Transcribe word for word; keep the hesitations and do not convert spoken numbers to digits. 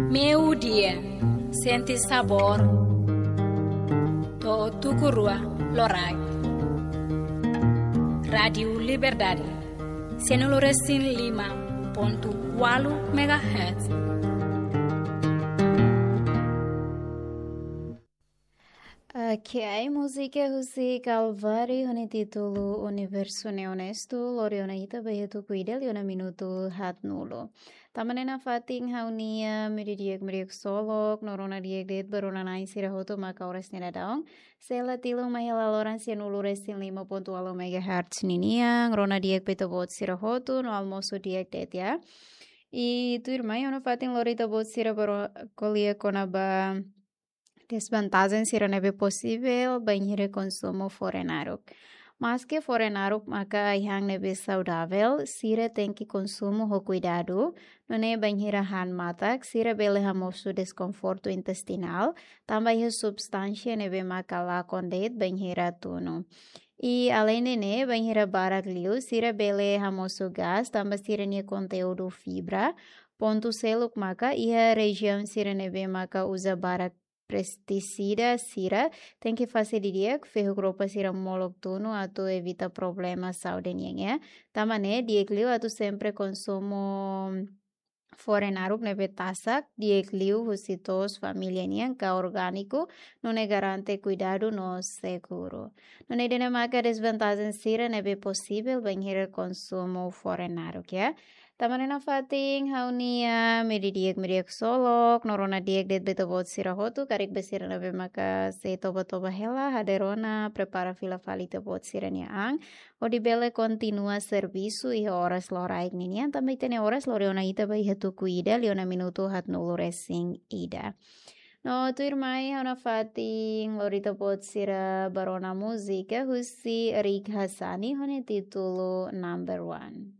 Meiudia, sente sabór. To'o tuku rua loraik. Rádiu Liberdade, sianulu resin lima pontu ualu megahertz. Oke, ai múzika husi Calvary ho nia títulu Universu Ne'e Onestu, lori ona ita ba iha tuku ida liu ona minutu haatnulu. Tanba ne'e nafatin ha'u-nia meiudia di'ak, meiudia ksolok, no rona di'ak de'it ba rona-na'in sira hotu maka oras ne'e daudaun. Sei la tilun mai hela loron sianulu resin lima pontu ualu megahertz ninian, rona di'ak ba ita-boot sira hotu, no almosu di'ak de'it, ya. I tuirmai ha'u nafatin lori ita-boot sira ba ro-, ko'alia kona-ba dezvantajen sira ne'ebé posivel bainhira konsumu fore-naruk. Maske fore-naruk maka ai-han ne'ebé saudavel, sira tenke konsumu ho kuidadu, nune'e bainhira han matak, sira bele hamosu deskonfortu intestinál, tanba iha substánsia ne'ebé maka lakon de'it bainhira tunu. I aleinde ne'e, bainhira barak liu, sira bele hamosu gás, tanba sira-nia konteúdu fibra. Pontu seluk maka, iha rejiaun sira ne'ebé maka uza barak pestisida sira, tenke fase didi'ak, fehuk roupa sira molok tunu atu evita problema saúde nian, ya. Tanba ne'e, di'ak liu atu sempre konsumu fore-naruk ne'ebé tasak, di'ak liu husi to'os família nian ka orgániku, nune'e garante kuidadu no seguru. Nune'e ida-ne'e maka dezvantajen sira ne'ebé posivel bainhira konsumu fore-naruk, ya. Tanba ne'e nafatin ha'u-nia meiudia di'ak, meiudia ksolok, no rona di'ak de'it ba ita-boot sira hotu, karik ba sira ne'ebé maka sei toba-toba hela, hadeer ona, prepara fila fali ita-boot sira-nia an, hodi bele kontinua servisu iha oras loraik ninian, tanba ita-nia oras lori ona ita ba iha tuku ida liu ona minutu haatnulu resin ida. No tuirmai ha'u nafatin lori ita-boot sira ba rona múzika husi Rick Hassani ho nia títulu Number One.